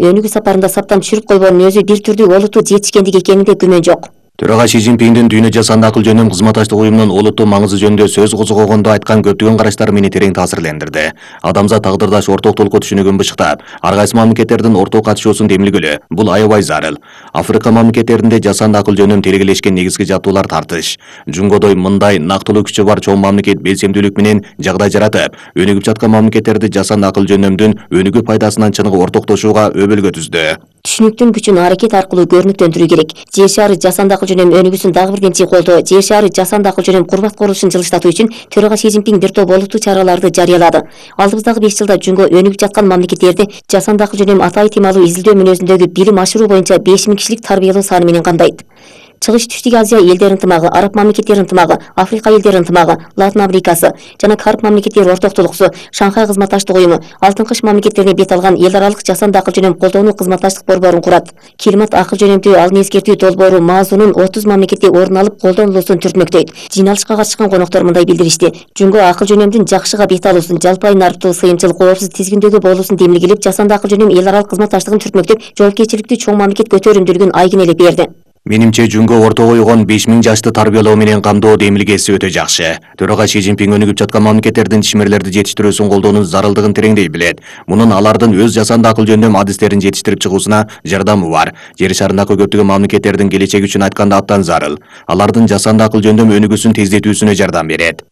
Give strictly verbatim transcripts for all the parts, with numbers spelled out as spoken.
Өнүгүү сапарында саптан түшүрүп койбоонун өзү бир түрдүү олуттуу жетишкендик экенинде күмөн жок. Төрага Си Цзиньпиндин дүйнө жасанды акыл жөнүн кызматташтык уюмунун олуттуу маңызы жөнүндө сөз козгогондо айткан көптөгөн караштары мени терең таасирлендирди. Адамзат тагдырдаш орток толку түшүнүгүн бышыктап, ар кайсы мамлекеттердин орток катышуусун демилгелөө бул аябай зарыл. Африка мамлекеттеринде жасанды акыл жөнүн тергелешкен негизги жаттуулар тартыш. Жунгодой мындай нактылуу күчү бар чоң мамлекет белсемдүүлүк менен жагдай жаратып, өнүгүп жаткан мамлекеттерди жасанды акыл жөнөмдүн өнүгүү пайдасынан чыныгы ортоктошууга өбөлгө түздү. Түшүнүктүн күчүн аракет аркылуу көрүнүктөндүрүү керек. Жер шаары жасанды акыл жөнөм өнүгүүсүн дагы бир кенчи колдоо. Жер шаары жасанды акыл жөнөм курбат курулушун жылыштатуу үчүн төрага Си Цзиньпин бир топ олуттуу чараларды жарыялады. Алдыбыздагы беш жылда Жунго өнүгүп жаткан мамлекеттерди жасанды акыл жөнөм ата ыйтымалуу изилдөө мүнөзүндөгү билим ашыруу боюнча беш миң кишилик тарбиялоо саны менен камдайт. Чыгыш Түштүк Азия элдери ынтымагы, Араб мамлекеттери ынтымагы, Африка элдери ынтымагы, Латын Америкасы жана Карп мамлекеттери ортоктулуксу, Шанхай кызматташтык уюму, Алтын Кыш мамлекеттерине бет алган эл аралык жасанды акыл жөнөм колдоону кызматташтык борборун курат. Климат акыл жөнөмдүү алын эскертүү долбоору Маазунун отуз мамлекетте орун алып колдонулуусун түртмөктөйт. Жыйналышка катышкан коноктор мындай билдиришти: Жунго акыл жөнөмдүн жакшыга бет алуусун, жалпай нарыктуу, сыйымчыл, коопсуз тизгиндөөгө болуусун демилгелеп, жасанды акыл жөнөм эл аралык кызматташтыгын түртмөктөп, жоопкерчиликтүү чоң мамлекет көтөрүмдүүлүгүн айгинелеп берди. Менимче Жунго орто койгон беш миң жашты тарбиялоо менен камдоо демилгеси өтө жакшы. Төрага Си Цзиньпин өнүгүп жаткан мамлекеттердин ишмерлерди жетиштирүүсүн колдоонун зарылдыгын тереңдей билет. Мунун алардын өз жасанды акыл жөндөм адистерин жетиштирип чыгуусуна жардамы бар. Жер шарындагы көптөгөн мамлекеттердин келечеги үчүн айтканда абдан зарыл. Алардын жасанды акыл жөндөм өнүгүүсүн тездетүүсүнө жардам берет.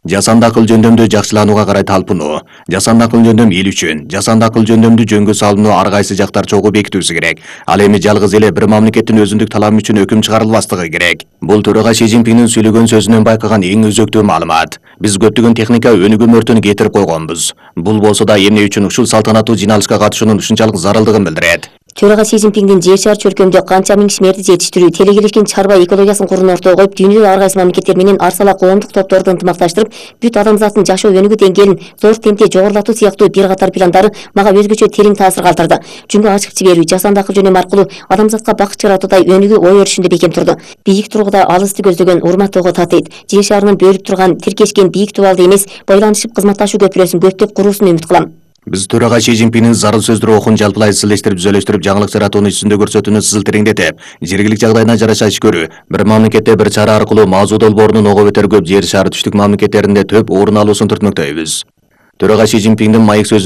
Жасанды акыл жөндөмдү жакшыланууга карай талпынуу. Жасанды акыл жөндөм эл үчүн. Жасанды акыл жөндөмдү жөнгө салууну ар кайсы жактар чогуу бекитүүсү керек. Ал эми жалгыз эле бир мамлекеттин өзүндүк талабы үчүн өкүм чыгарылбастыгы керек. Бул төрага Си Цзиньпиндин сүйлөгөн сөзүнөн байкаган эң өзөктүү маалымат. Биз көптөгөн техника өнүгүү мөртүн кетирип койгонбуз. Бул болсо да эмне үчүн ушул салтанаттуу жыйналышка катышуунун ушунчалык зарылдыгын билдирет. Төрага Си Цзиньпиндин жер шаар чөлкөмдө канча миң ишмерди жетиштирүү, телегелешкен чарба экологиясын курууну ортого коюп, дүйнөдө ар кайсы мамлекеттер менен арсала коомдук топторду ынтымакташтырып, бүт адамзаттын жашоо өнүгүү деңгээлин зор темпте жогорулатуу сыяктуу бир катар пландары мага өзгөчө терең таасир калтырды. Жунго ачык жиберүү, жасанды акыл жөнөм аркылуу адамзатка бакыт жаратуудай өнүгүү ой өрүшүндө бекем турду. Бийик тургуда алысты көздөгөн урматтоого татыйт. Жер шаарынын бөлүп турган, тиркешкен бийик дубалды эмес, байланышып кызматташуу көпүрөсүн көптөп куруусун үмүт кылам. Биз төрага Си Цзиньпиндин зарыл сөздөрү окун жалпылай изилештирип, түзөлөштүрүп, жаңылык жаратууну ичинде көрсөтүүнү сызыл тереңдетип, жергилик жагдайына жараша иш көрүү, бир мамлекетте бир чара аркылуу Маазу долбоорунун ого бетер көп жер шары түштүк мамлекеттеринде төп орун алуусун түртмөктөйбүз. Төрага Си Цзиньпиндин маек сөзү